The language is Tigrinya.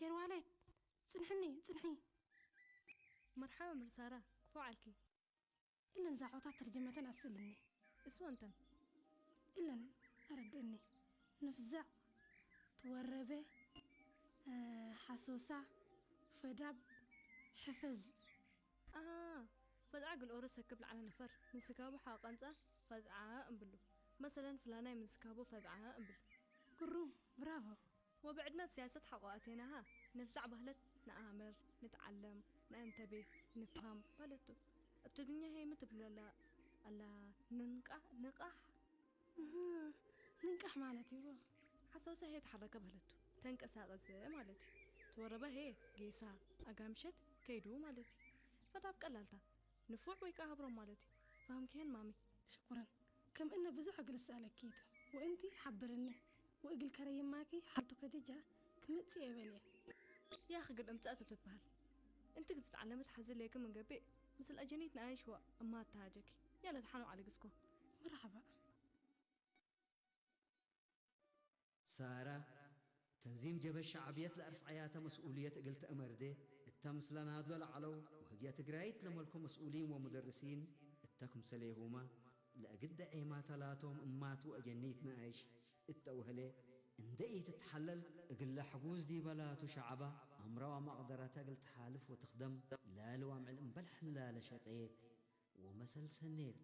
ኤርዋሌት፣ ጽንሕኒ፣ ጽንሒ። መርሓባ መምህር ሳራ፣ ክፉእ ዓልኪ። እለን ዛዕባታት ተርጀመተን ኣስእልኒ። እሱ እንተን? እለን ኣረድእኒ። ንፍዛዕ፣ ትወረበ፣ እ፣ ሓሶሳ፣ ፈዳብ፣ ሕፈዝ። ኣሃ፣ ፈዝዓ ግልኦሮ ሰክብ ላዕለ ነፈር፣ ምንስካቡ ሓቐንጻ ፈዝዓ እምብሉ። መሰለን ፍላናይ ምንስካቡ ፈዝዓ እምብሉ። ግሩም፣ ብራቮ። ወብዕድመት ሲያሰት ሓቆ ኣቴናሃ፣ ነፍዛዕ ባህለት ንኣምር፣ ንትዓለም፣ ንእንተቤ፣ ንፍሃም ባለቱ። እብ ትግርኛ ሄ ምትብለላ ኣላ ንንቃ-፣ ንቃሕ? እህ፣ ንንቃሕ ማለት እዩ። ሓሳውሳ ሄ ተሓረከ ባለቱ፣ ተንቀሳቐሰ ማለት እዩ። ተወረበ ሄ ጌሳ፣ ኣጋምሸት፣ ከይዱ ማለት እዩ። ፈዳብ ቀላልታ፣ ንፉዕ ወይ ከዓ ሃብሮም ማለት እዩ። ፋህምኪ ሄን ማሚ? ሽኩረን። ከም እነ ብዙሕ እግል እሰኣለኪ እቱ። ወእንቲ ሓብርኒ። ወእግል ከረይማኪ ሓልቱ ከድጃ ክምጽእ የበልየ። ያኺ ግን እምጻእ እቶ ትትበሃል። እንቲ ግን ትትዓለመት ሓዚ ለይክ ምን ገቤ ምስል ኣጀኒት ንኣይሽዋ እማ ኣተሃጀኪ። ያለ ድሓኑ ዓሊ ግስኮ። መርሓባ። ሳራ፣ ተንዚም ጀበሽ ሸዕብየት ለኣርፍዓያተ መስኡልየት እግል ተእመርዴ፣ እተ ምስለ ናድሎ ለዐለው ወህግየ ትግራይት ለመልኮ መስኡሊን ወሙደርሲን እተ ክምሰሌሁመ፣ ለእግል ደዔማተ ላቶም እማት ወአጀኒት ነኣይሽ እተ ወህሌ እንዴ ኢትትሐለል፣ እግለ ሕጉዝ ዲበ ላቱ ሸዐበ አምረ ወመቅደረተ እግል ተሓልፍ ወትክደም ላሊ ወአምዕል እምበል ሐላለ ሸቄት ወመሰል ሰኔት